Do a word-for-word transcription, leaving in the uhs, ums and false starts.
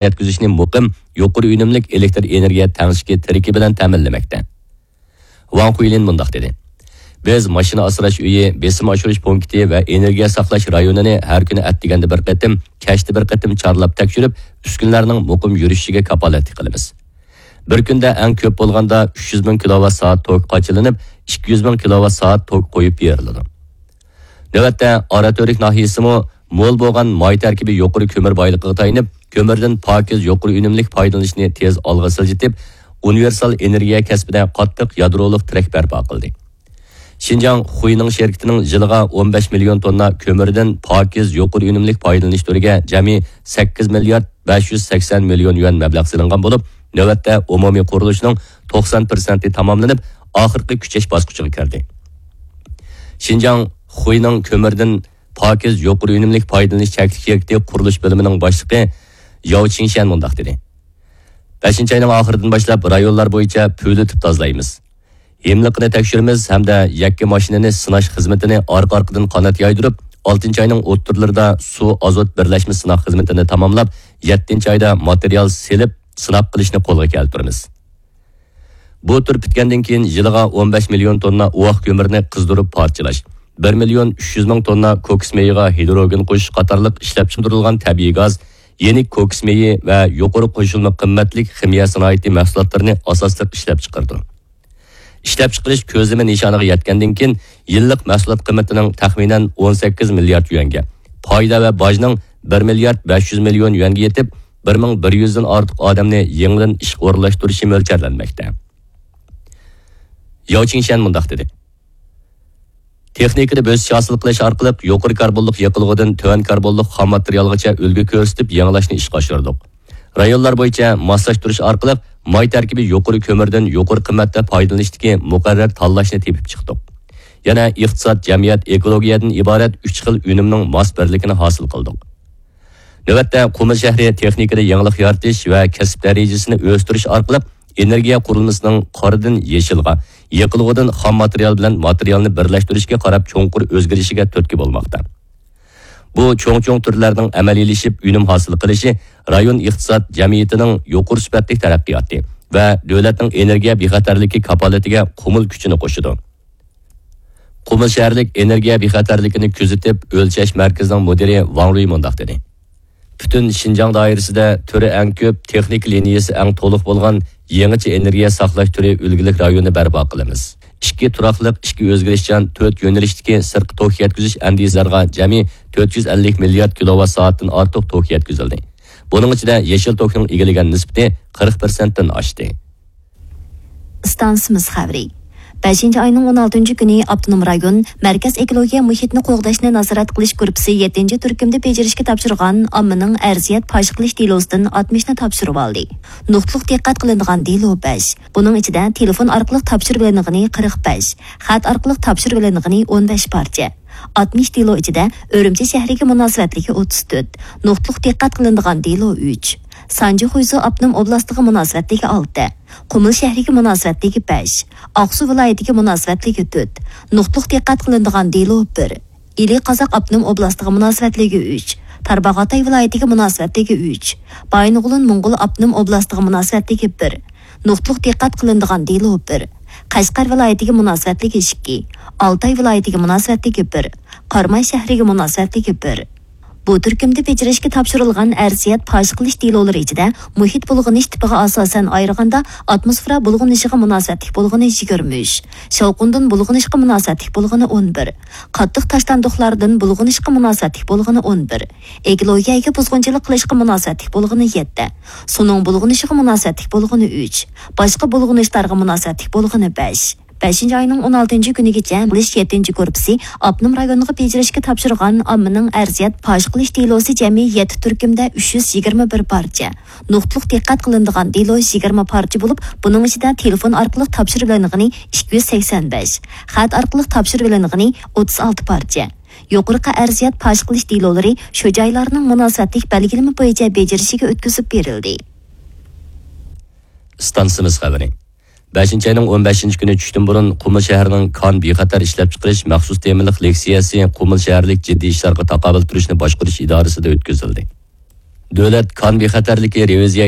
يەتكۈزۈشنى مۇقىم، يۇقىرى ئۈنۈملۈك ئېلېكتر ئېنېرگىيە تەڭشىكى تىرىكى بىلەن تەمىنلىمەكتە. ۋاڭ خۇيلىن مۇنداق دېدى: بىز ماشىنا ئاسراش ئۆيى، بېسىم ئاشۇرۇش پونكىتى ۋە ئېنېرگىيە ساقلاش رايونىنى ھەر كۈنى ئەتىگەندە بىر قېتىم، كەچتە بىر قېتىم چارلاپ تەكشۈرۈپ، ئۈسكۈنىلەرنىڭ مۇقىم يۈرۈشۈشىگە كاپالەتلىك قىلىمىز. بىر كۈندە ئەڭ كۆپ بولغاندا ئۈچ يۈز مىڭ كىلوۋات سائەت توك قاچىلىنىپ، ئىككى يۈز مىڭ كىلوۋات سائەت توك قويۇپ بېرىلىدۇ. نۆۋەتتە، ئاراتۈرك ناھىيەسىمۇ مول بولغان ماي تەركىبى يۇقىرى كۆمۈر بايلىقىغا تايىنىپ، كۆمۈردىن پاكىز يۇقىرى ئۈنۈملۈك پايدىلىنىشنى تېز ئالغا سىلجىتىپ، ئۇنىۋېرسال ئېنېرگىيە كەسپىدە قاتتىق يادرولۇق تىرەك بەرپا قىلدى. شىنجاڭ خۇينىڭ شىركىتىنىڭ يىلىغا ئون بەش مىليون توننا كۆمۈردىن پاكىز يۇقىرى ئۈنۈملۈك پايدىلىنىش تۈرىگە جەمئىي سەككىز مىليارد بەش يۈز سەكسەن مىليون يۈەن مەبلەغ سېلىنغان بولۇپ، نۆۋەتتە ئومۇمىي قۇرۇلۇشنىڭ توقسان پىرسەنتى تاماملىنىپ، ئاخىرقى كۈچەش باسقۇچىغا كىردى. شىنجاڭ خۇينىڭ كۆمۈردىن پاكىز يۇقىرى ئۈنۈملۈك پايدىلىنىش چەكلىك شىركىتى قۇرۇلۇش بۆلۈمىنىڭ باشلىقى ياۋ چىڭشيەن مۇنداق دېدى: بەشىنچى ئاينىڭ ئاخىرىدىن باشلاپ رايونلار بويىچە پۈۋلىتىپ تازىلايمىز. ھىملىقىنى تەكشۈرىمىز ھەمدە يەككە ماشىنىنى سىناش خىزمىتىنى ئارقا-ئارقىدىن قانات يايدۇرۇپ، ئالتىنچى ئاينىڭ ئوتتۇرىلىرىدا سۇ ئازوت بىرلەشمە سىناق خىزمىتىنى تاماملاپ، يەتتىنچى ئايدا ماتېرىيال سېلىپ، سىناق قىلىشنى قولغا كەلتۈرىمىز. بۇ تۈر پۈتكەندىن كېيىن، يىلىغا ئون بەش مىليون توننا ئۇۋاق كۆمۈرنى قىزدۇرۇپ پارچىلاش، بىر مىليون ئۈچ يۈز مىڭ توننا كوكس مېيىغا ھىدروگېن قوشۇش قاتارلىق ئىشلەپچىقىرىلغان تەبىئىي گاز، يېنىك كوكس مېيى ۋە يۇقىرى قوشۇلما قىممەتلىك خىمىيە سانائىتى مەھسۇلاتلىرىنى ئاساسلىق ئىشلەپچىقىرىدۇ. ئىشلەپچىقىرىش كۆزلىمە نىشانىغا يەتكەندىن كېيىن، يىللىق مەھسۇلات قىممىتىنىڭ تەخمىنەن ئون سەككىز مىليارد يۈەنگە، پايدا ۋە باجنىڭ بىر مىليارد بەش يۈز مىليون يۈەنگە يېتىپ، بىر مىڭ بىر يۈزدىن ئارتۇق ئادەمنى يېڭىدىن ئىشقا ئورۇنلاشتۇرۇشى مۆلچەرلەنمەكتە. ياۋ چىڭشيەن مۇنداق دېدى: تېخنىكىدا بۆسۈش ھاسىل قىلىش ئارقىلىق يۇقىرى كاربونلۇق يېقىلغۇدىن تۆۋەن كاربونلۇق خام ماتېرىيالغىچە ئۈلگە كۆرسىتىپ يېڭىلاشنى ئىشقا ئاشۇردۇق. رايونلار بويىچە ماسلاشتۇرۇش ئارقىلىق ماي تەركىبى يۇقىرى كۆمۈردىن يۇقىرى قىممەتتە پايدىلىنىشتىكى مۇقەررەر تاللاشنى تېپىپ چىقتۇق. يەنە ئىقتىساد، جەمئىيەت، ئېكولوگىيەدىن ئىبارەت ئۈچ خىل ئۈنۈمنىڭ ماس بىرلىكىنى ھاسىل قىلدۇق. نۆۋەتتە، قۇمۇل شەھىرى تېخنىكىدا يېڭىلىق يارىتىش ۋە كەسىپ دەرىجىسىنى ئۆستۈرۈش ئارقىلىق ئېنېرگىيە قۇرۇلمىسىنىڭ قارىدىن يېشىلغا، يېقىلغۇدىن خام ماتېرىيال بىلەن ماتېرىيالنى بىرلەشتۈرۈشكە قاراپ چوڭقۇر ئۆزگىرىشىگە تۈرتكە بولماقتا. بۇ چوڭ-چوڭ تۈرلەرنىڭ ئەمەلىيلىشىپ ئۈنۈم ھاسىل قىلىشى رايون ئىقتىساد جەمئىيىتىنىڭ يۇقىرى سۈپەتلىك تەرەققىياتى ۋە دۆلەتنىڭ ئېنېرگىيە بىخەتەرلىكى كاپالىتىگە قۇمۇل كۈچىنى قوشىدۇ. قۇمۇل شەھەرلىك ئېنېرگىيە بىخەتەرلىكىنى كۆزىتىپ ئۆلچەش مەركىزىنىڭ مۇدىرى ۋاڭ رۇي مۇنداق دېدى: پۈتۈن شىنجاڭ دائىرىسىدە تۈرى ئەڭ كۆپ، تېخنىكا لىنىيەسى ئەڭ تولۇق بولغان يېڭىچە ئېنېرگىيە ساقلاش تۈرى ئۈلگىلىك رايونىنى بەرپا قىلىمىز. ئىككى تۇراقلىق، ئىككى ئۆزگىرىشچان، تۆت يۆنىلىشتىكى سىرتقى توك يەتكۈزۈش ئەندىزىلەرگە جەمئىي تۆت يۈز ئەللىك مىليارد كىلوۋات سائەتتىن ئارتۇق توك يەتكۈزۈلدى. بۇنىڭ ئىچىدە يېشىل توكنىڭ ئىگىلىگەن نىسبىتى قىرىق پىرسەنتتىن ئاشتى. ئىستانسىمىز خەۋىرى. بەشىنچى ئاينىڭ ئون ئالتىنچى كۈنى ئاپتونوم رايون مەركەز ئېكولوگىيە مۇھىتنى قوغداشنى نازارەت قىلىش گۇرۇپپىسى يەتتىنچى تۈركۈمدە بېجىرىشكە تاپشۇرغان ئاممىنىڭ ئەرزىيەت پاش قىلىش دېلوسىدىن ئاتمىشنى تاپشۇرۇۋالدى. نۇقتىلىق دىققەت قىلىنىدىغان دېلو بەش. بۇنىڭ ئىچىدە تېلېفون ئارقىلىق تاپشۇرۇۋېلىنغىنى قىرىق بەش، خەت ئارقىلىق تاپشۇرۇۋېلىنغىنى ئون بەش پارچە. ئاتمىش دېلو ئىچىدە ئۈرۈمچى شەھىرىگە مۇناسىۋەتلىكى ئوتتۇز تۆت، نۇقتىلىق دىققەت قىلىنىدىغان دېلو ئۈچ، سانجى خۇيزۇ ئاپتونوم ئوبلاستىغا مۇناسىۋەتلىكى ئالتە، قۇمۇل شەھىرىگە مۇناسىۋەتلىكى بەش، ئاقسۇ ۋىلايىتىگە مۇناسىۋەتلىكى تۆت، نۇقتىلىق دىققەت قىلىنىدىغان دېلو بىر، ئىلى قازاق ئاپتونوم ئوبلاستىغا مۇناسىۋەتلىكى ئۈچ، تارباغاتاي ۋىلايىتىگە مۇناسىۋەتلىكى ئۈچ، بايىنغولىن موڭغۇل ئاپتونوم ئوبلاستىغا مۇناسىۋەتلىكى بىر، نۇقتىلىق دىققەت قىلىنىدىغان دېلو بىر، قەشقەر ۋىلايىتىگە مۇناسىۋەتلىكى ئىككى، ئالتاي ۋىلايىتىگە مۇناسىۋەتلىكى بىر، قاراماي شەھىرىگە مۇناسىۋەتلىكى بىر. بۇ تۈركۈمدە بېجىرىشكە تاپشۇرۇلغان ئەرزىيەت پاش قىلىش دېلولىرى ئىچىدە مۇھىت بۇلغىنىش تىپىغا ئاساسەن ئايرىغاندا، ئاتموسفېرا بۇلغىنىشىغا مۇناسىۋەتلىك بولغىنى يىگىرمە ئۈچ، شاۋقۇندىن بۇلغىنىشقا مۇناسىۋەتلىك بولغىنى ئون بىر، قاتتىق تاشلاندۇقلاردىن بۇلغىنىشقا مۇناسىۋەتلىك بولغىنى ئون بىر، ئېكولوگىيەگە بۇزغۇنچىلىق قىلىشقا مۇناسىۋەتلىك بولغىنى يەتتە، سۇنىڭ بۇلغىنىشىغا مۇناسىۋەتلىك بولغىنى ئۈچ، باشقا بۇلغىنىشلارغا مۇناسىۋەتلىك بولغىنى بەش. بەشىنچى ئاينىڭ ئون ئالتىنچى كۈنىگىچە قىلىش يەتتىنچى گۇرۇپپىسى ئاپتونوم رايونغا بېجىرىشكە تاپشۇرغان ئاممىنىڭ ئەرزىيەت پاش قىلىش دېلوسى جەمئىي يەتتە تۈركۈمدە ئۈچ يۈز يىگىرمە بىر پارچە، نۇقتىلىق دىققەت قىلىنىدىغان دېلو يىگىرمە پارچە بولۇپ، بۇنىڭ ئىچىدە تېلېفون ئارقىلىق تاپشۇرۇۋېلىنغىنى ئىككى يۈز سەكسەن بەش، خەت ئارقىلىق تاپشۇرۇۋېلىنغىنى ئوتتۇز ئالتە پارچە. يۇقىرىقى ئەرزىيەت پاش قىلىش دېلولىرى شۇ جايلارنىڭ مۇناسىۋەتلىك بەلگىلىمە بويىچە بېجىرىشىگە ئۆتكۈزۈپ بېرىلدى. ئىستانسىمىز خەۋىرى. بەشىنچى ئاينىڭ ئون بەشىنچى كۈنى چۈشتىن بۇرۇن قۇمۇل شەھىرىنىڭ كان بىخەتەر ئىشلەپچىقىرىش مەخسۇس تېمىلىق لېكسىيەسى قۇمۇل شەھەرلىك جىددىي ئىشلارغا تاقابىل تۇرۇشنى باشقۇرۇش ئىدارىسىدە ئۆتكۈزۈلدى. دۆلەت كان بىخەتەرلىكى رېۋىزىيە